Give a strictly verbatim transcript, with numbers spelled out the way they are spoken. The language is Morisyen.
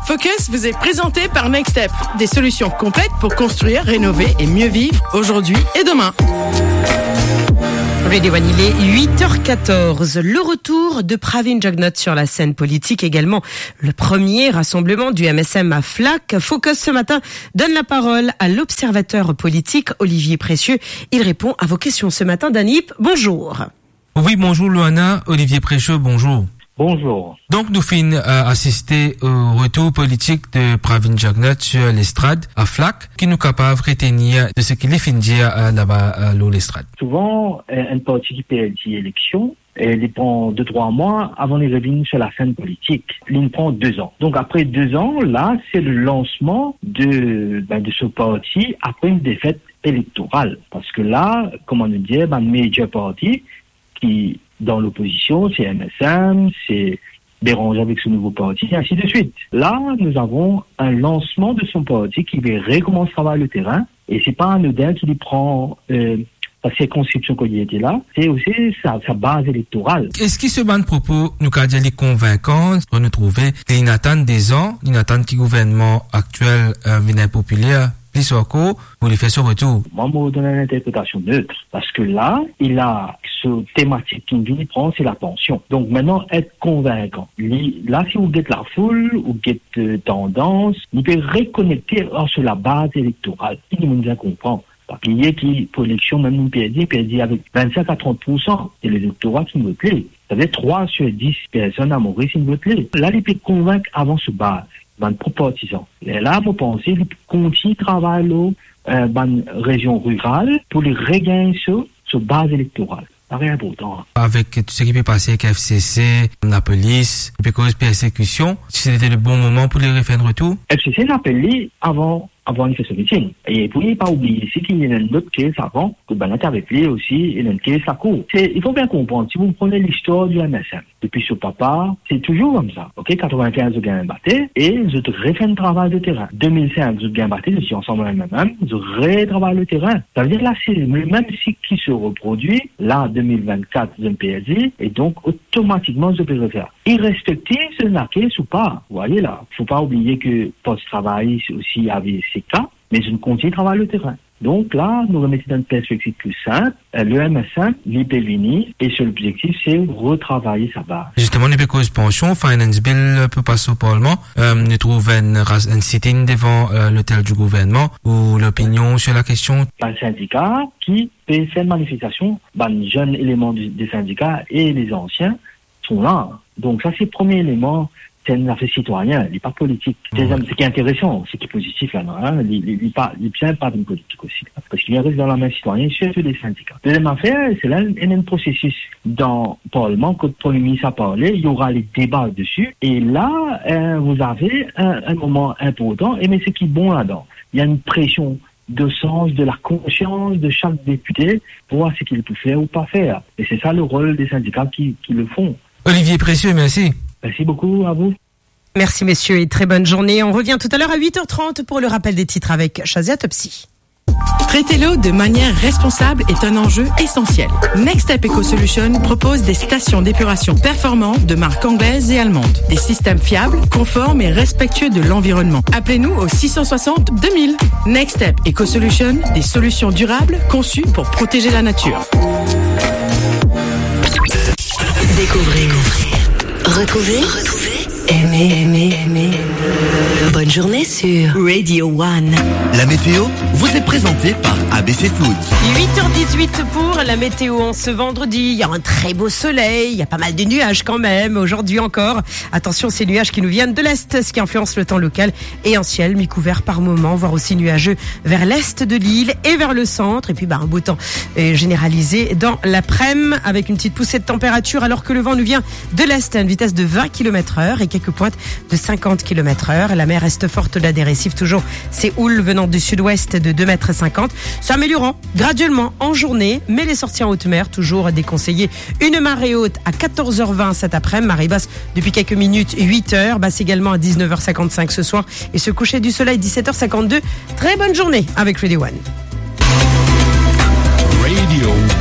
Focus vous est présenté par Next Step, des solutions complètes pour construire, rénover et mieux vivre aujourd'hui et demain. Radio One, il est huit heures quatorze. Le retour de Pravin Jugnauth sur la scène politique, également le premier rassemblement du M S M à Flacq. Focus ce matin donne la parole à l'observateur politique Olivier Précieux. Il répond à vos questions ce matin. Danip, bonjour. Oui, bonjour Loana, Olivier Précieux, bonjour. Bonjour. Donk nou finn, euh, asiste o retour politik de Pravin Jugnauth sur lestrad a Flacq. Ki nou kapav retenir de seki li finn dir, euh, laba, euh, lor lestrad? Souvan, euh, enn parti ki perdi eleksion, euh, li pran de trwa mwa avan li revinn sur la scène politique. Li pran de zan. Donk apre de zan, la, c'est le lancement de, ben, de ce parti après une défaite électorale. Parce que là, kouma nou dir, ben, major parti, ki dan lopozision, c'est M S M, c'est Béranger avec son nouveau parti, et ainsi de suite. Là, nous avons un lancement de son parti qui va recommencer à travailler le terrain, et c'est pas anodin ki li pran, euh, sa sirkonskripsion kot li ete la, c'est aussi sa, sa baz elektoral. Eski so bann propo, nou kapav dir li konvinkan, kan nou trouve ki li inn atann de zan, li inn atann ki gouvernman aktiel, euh, vinn inpopiler, plis ankor, pou li fer so retour? Mwa, mo donn enn interpretasion net, parski la, li la, so tematik ki li pran, c'est la pension. Donk, mintnan, et konvinkan. Li, la, si ou get lafoul, ou get, euh, tandans, li pe rekonekte ar so labaz elektoral. Ki dimoun bizin konpran. Pa bliye ki pou eleksion, mem nou perdi, perdi avek vinn-sink a trant poursan, se lelektora ki vot li. Savedir trwa sir dis personn a Moris inn vot li. La, li pe konvink avan so baz, bann prop partizan. Lerla, mo panse, li pou kontign travay lor, euh, bann rezion riral pou li regagn so, so baz elektoral. Sa tre inportan. Avek tou seki pe pase avek F C C, lapolis, li pe koz persekision, si se te le bon moman pou li refer enn retour? F C C inn apel li avan, avan li fer so miting. E pou li pa oubliye osi ki li ena enn lot case avan, kot bann la ti avek li osi, ena enn case lakour. Se, il faut bien comprendre, si vous prenez l'histoire du M S M, depi so papa, se touzour koumsa. Ok, katrevin-kinz, zot gagn bate, e zot refer enn travay de terin. De mil sink, zot gagn bate, zot ti ansam M M M, zot retravay le terin. Savedir la, se le mem sik ki se reprodwi, la, de mil vinn-kat, zot inn perdi, e donk, otomatikman, zot pe refer. Irespektif si ena case ou pa, vous voyez la. Faut pas oublier que Parti Travayis osi avize se ka, me zot inn kontign travay le terin. Donk la, nou remet dan enn perspektiv pli sinp, euh, le M S M, li pe vini, e so lobzektif, se retravay sa baz. Zisteman, nou pe koz pansion, Finance Bill pe pas o Parlman, euh, nou trouv enn ras-, enn sit-in devan, euh, lotel di gouvernman, ou lopinion sur la kestion? Bann sindika ki pe fer manifestasion, bann zenn eleman de, de sindika e lezansie, son la. Donk sa se premie eleman, se enn zafer sitwayin, li pa politik. Deziem, seki interesan, seki pozitif la, non, hein, li, li, li pa, li bizin pa vinn politik osi, parski li res dan lame sitwayin, sirtou le sindika. Deziem zafer, se la, ena enn prosesis dan Parlman, kot Premie Minis a parle, il y aura les débats dessus, et là, euh, vous avez un, un moment important, e me seki bon ladan, il y a une pression de sens, de la conscience de chaque député pour voir ce qu'il peut faire ou pas faire. Et c'est ça le rôle des syndicats qui, qui le font. Olivier Précieux, merci. Merci beaucoup à vous. Merci messieurs et très bonne journée. On revient tout à l'heure à huit heures trente pour le rappel des titres avec Shazia Topsy. Traiter l'eau de manière responsable est un enjeu essentiel. Next Step Eco Solution propose des stations d'épuration performantes de marques anglaises et allemandes. Des systèmes fiables, conformes et respectueux de l'environnement. Appelez-nous au six cent soixante deux mille. Next Step Eco Solution, des solutions durables conçues pour protéger la nature. Découvrez, retrouvez, aimez, aimez, aimez. Bonne journée sur Radio One. La météo vous est présentée par A B C Foods. Huit heures dix-huit pour la météo en ce vendredi. Il y a un très beau soleil, il y a pas mal de nuages quand même aujourd'hui encore. Attention, ces nuages qui nous viennent de l'est, ce qui influence le temps local et un ciel mi-couvert par moments, voire aussi nuageux vers l'est de l'île et vers le centre. Et puis, bah, un beau temps, euh, généralisé dans l'après-midi avec une petite poussée de température alors que le vent nous vient de l'est à une vitesse de vingt kilomètres heure et quelques pointes de cinquante kilomètres heure. La mer reste forte au-delà des récifs. Toujours ces houles venant du sud-ouest de deux mètres cinquante, s'améliorant graduellement en journée, mais les sorties en haute mer toujours déconseillées. Une marée haute à quatorze heures vingt cet après-midi, marée basse depuis quelques minutes, huit heures, basse également à dix-neuf heures cinquante-cinq ce soir et ce coucher du soleil, dix-sept heures cinquante-deux. Très bonne journée avec Radio One.